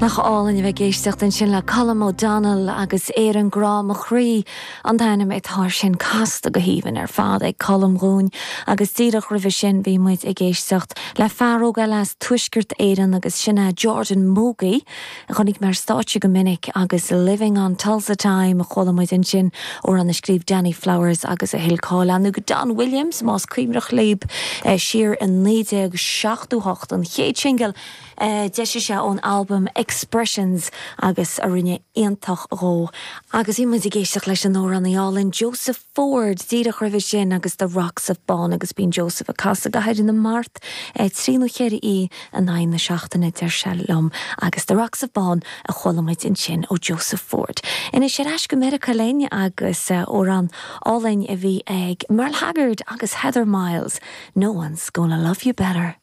Nach álainn a bheith ag éisteacht ansin le Colm O'Donnell agus Éirinn Grá Mo Chroí an t-ainm atá air sin, casta go haoibhinn ar fad ag Colm dhúinn. Agus díreach roimhe sin bhí muid ag éisteacht le fear óg eile as Tuaisceart Éireann agus sin é Jordan Mogey a chonaic mé ar stáitse go minic agus Living on Tulsa Time a chuala muid ansin, amhrán a scríobh Danny Flowers agus a thuill cáil ann go Don Williams más cuimhneach libh siar i 1978 an chéad singil a d'eisigh sé ón albam Expressions agus a rinne iontach dhó. Agus bhí muid ag éisteacht leis an amhránaí álainn Joseph Ford díreach roimhe sin agus The Rocks of Bawn agus bíonn Joseph ag casadh i gCathair na Mart 3 nó 4 oíche in aghaidh na seachtaine, deir sé liom, agus The Rocks of Bawn a chuala muid ansin ó Joseph Ford. Anois ar ais go Meiriceá linn agus amhrán álainn a bhí ag Merle Haggard agus Heather Miles, No One's Gonna Love You Better.